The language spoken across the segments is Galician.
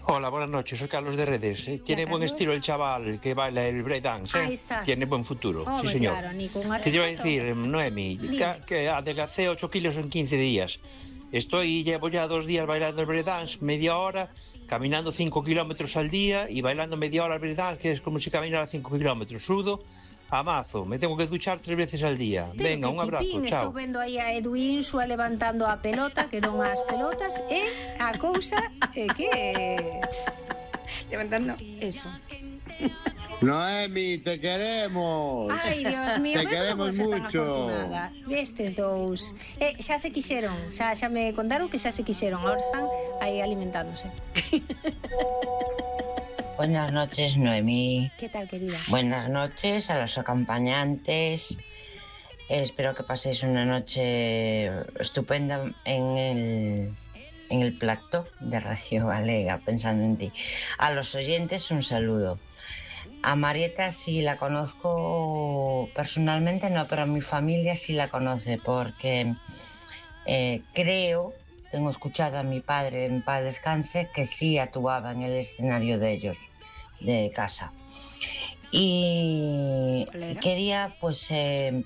Hola, buenas noches, soy Carlos de Redes. Tiene buen estilo el chaval que baila el breakdance, Ahí estás. Tiene buen futuro, sí Hombre, señor. claro, Nico, un ¿Qué te iba a artistazo. decir, Noemi? Dime. Que adelgacé 8 kilos en 15 días. Llevo ya 2 días bailando el breakdance, media hora, caminando 5 kilómetros al día y bailando media hora el breakdance, que es como si caminara 5 kilómetros. Sudo a mazo, me tengo que duchar 3 veces al día. Pero Venga, que un abrazo, tipín, chao. estou vendo aí a Edu Insua levantando a pelota, que non as pelotas, e a cousa é que... Levantando eso. Noemi, te queremos. Ai, Dios mío, Te pero queremos como ser tan mucho. afortunada. Estes dous. Xa se quixeron, xa me contaron que xa se quixeron, agora están aí alimentándose. Buenas noches, Noemí. ¿Qué tal, querida? Buenas noches a los acompañantes. Espero que paséis una noche estupenda en el plató de Radio Galega, pensando en ti. A los oyentes, un saludo. A Marieta sí la conozco personalmente, no, pero a mi familia sí la conoce, porque creo, tengo escuchado a mi padre, en paz descanse, que sí actuaba en el escenario de ellos, de casa. Y quería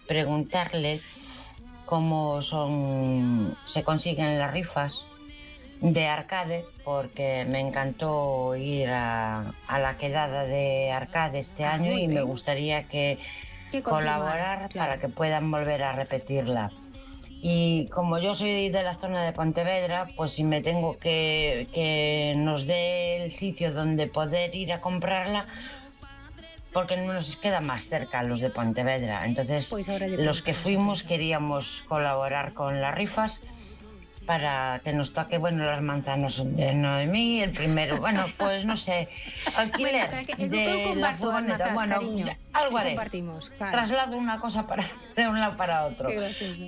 preguntarle cómo se consiguen las rifas de arcade, porque me encantó ir a la quedada de arcade este año y me gustaría que colaborar, claro, para que puedan volver a repetirla. Y como yo soy de la zona de Pontevedra, pues si me tengo que nos dé el sitio donde poder ir a comprarla, porque nos queda más cerca los de Pontevedra. Entonces, pues los que fuimos queríamos colaborar con las rifas para que nos toque, bueno, las manzanas de Noemí, el primero, bueno, pues no sé, alquiler de la furgoneta, bueno, algo haré. Claro. Traslado una cosa de un lado para otro.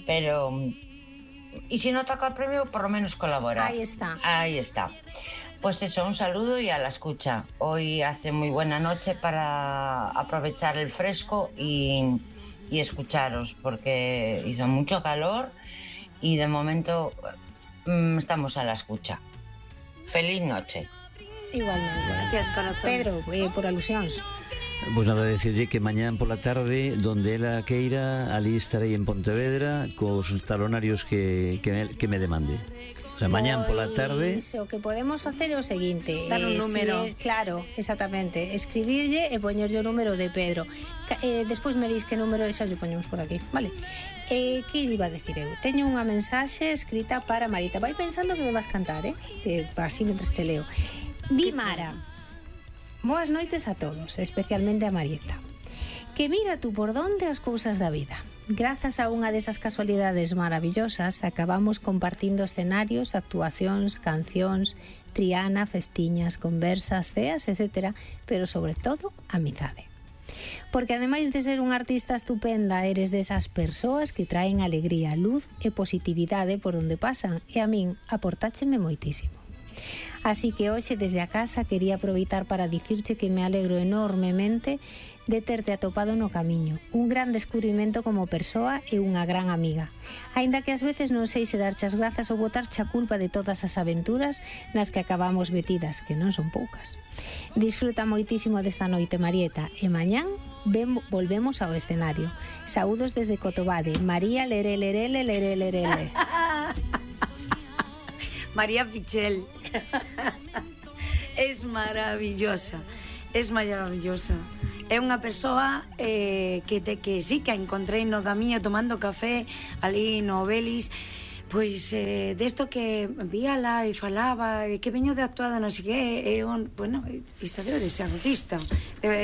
Pero, y si no toca el premio, por lo menos colaborar. Ahí está. Ahí está. Pues eso, un saludo y a la escucha. Hoy hace muy buena noche para aprovechar el fresco y escucharos, porque hizo mucho calor y de momento estamos a la escucha. Feliz noche. Igualmente. Gracias, corazón. Pedro, por alusións. Pois nada, decirlle que mañán pola tarde, donde ela queira, ali estarei en Pontevedra cos talonarios que me demande. O sea, mañán pola tarde... O que podemos facer é o seguinte, dar un número. Claro, exactamente, escribirlle e poñerlle o número de Pedro. Despois me dis que número e xa lle poñemos por aquí, vale? Que iba a decir eu? Teño unha mensaxe escrita para Marita. Vai pensando que me vas cantar, así mentres che leo. Di Mara: boas noites a todos, especialmente a Marieta. Que mira tú por donde as cousas da vida. Grazas a unha desas casualidades maravillosas, acabamos compartindo escenarios, actuacións, cancións, triana, festiñas, conversas, ceas, etc. Pero sobre todo, amizade. Porque ademais de ser unha artista estupenda, eres desas persoas que traen alegría, luz e positividade por onde pasan, e a min aportácheme moitísimo. Así que hoxe desde a casa quería aproveitar para dicirche que me alegro enormemente de terte atopado no camiño, un gran descubrimento como persoa e unha gran amiga. Aínda que ás veces non sei se darche as grazas ou botarche a culpa de todas as aventuras nas que acabamos metidas, que non son poucas. Disfruta moitísimo desta noite, Marieta, e mañán volvemos ao escenario. Saúdos desde Cotobade. María Lerele. María Pichel. Es maravillosa. Es maravillosa. É unha persoa que sí, que a encontrei no camiño tomando café ali no Belis, pois desto que víala e falaba que veño de actuada non sei que, bueno, isto debe de ser artista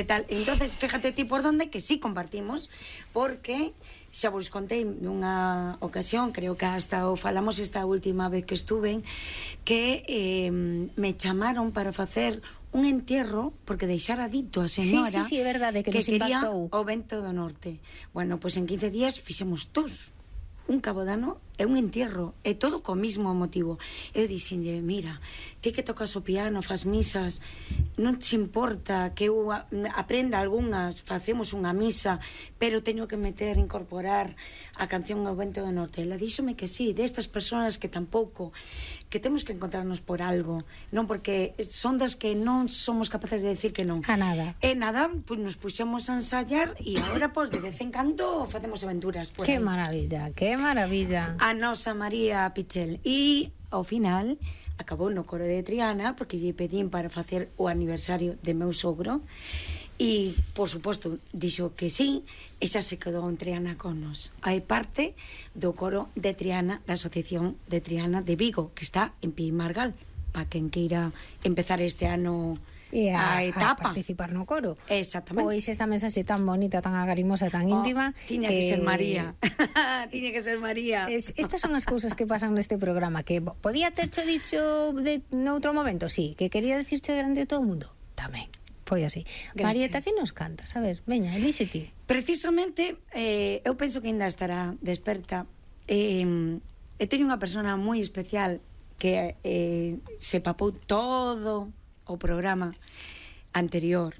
tal. Entonces, fíjate ti por donde que sí compartimos, porque xa vos contei nunha ocasión, creo que hasta o falamos esta última vez que estuve, que me chamaron para facer un entierro, porque deixara dito a señora sí, é verdade, que nos quería impactou o vento do norte. Bueno, pois en 15 días fixemos todos un cabodano e un entierro, e todo co mismo motivo. Eu dixenlle, mira, ti que tocas o piano, fas misas, non te importa que eu aprenda algunhas, facemos unha misa, pero teño que incorporar a canción O vento do norte. Ela díxome que sí, destas persoas que tampouco que temos que encontrarnos por algo, non porque son das que non somos capaces de decir que non. A nada. E nada, pois nos puxemos a ensayar e agora, pois, de vez en cando facemos aventuras por Que aí. maravilla, que maravilla. A nosa María Pichel. E, ao final, acabou no coro de Triana, porque lle pedín para facer o aniversario de meu sogro, e, por suposto, dixo que sí, e xa se quedou en Triana con nos. Hai parte do coro de Triana, da Asociación de Triana de Vigo, que está en Pimargal, para quen queira empezar este ano E a etapa. a participar no coro. Exactamente. Pois esta mensaxe tan bonita, tan agarimosa, tan íntima. Tiña que ser María. Tiña que ser María. Estas son as cousas que pasan neste programa, que podía tercho dicho noutro momento, sí, que quería dicircho delante de todo o mundo, tamén. Foi así. Gracias. Marieta, que nos cantas? A ver, veña, elixe ti. Precisamente, eu penso que ainda estará desperta. Eu teño unha persona moi especial que se papou todo o programa anterior.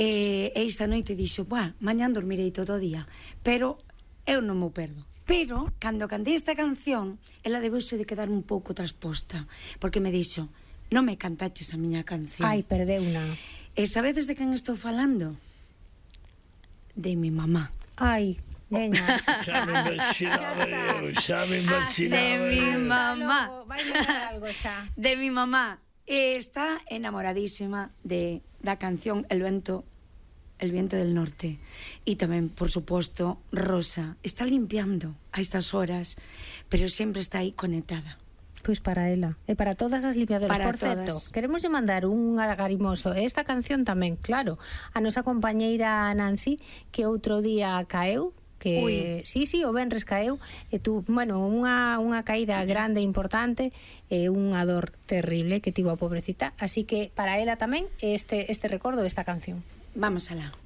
E esta noite dixo, mañán dormirei todo o día, pero eu non me perdo. Pero, cando cantei esta canción, ela debeuse de quedar un pouco trasposta, porque me dixo, non me cantaches a miña canción. Ai, perdeuna. E sabedes de quen estou falando? De mi mamá. Ai, veña. Xa me imaginaba. De mi mamá. Vai mandar algo xa. De mi mamá. E está enamoradísima da canción El viento del norte. E tamén, por suposto, Rosa está limpiando a estas horas, pero sempre está aí conectada. Pois para ela e para todas as limpiadoras. Para Por certo, todas. queremos lle mandar un agarimoso. Esta canción tamén, claro, a nosa compañeira Nancy, que outro día caeu, que sí, o venres caeu, e tú, bueno, unha caída grande, importante, e unha dor terrible que tivo a pobrecita, así que para ela tamén este recordo, esta canción. Vamos alá.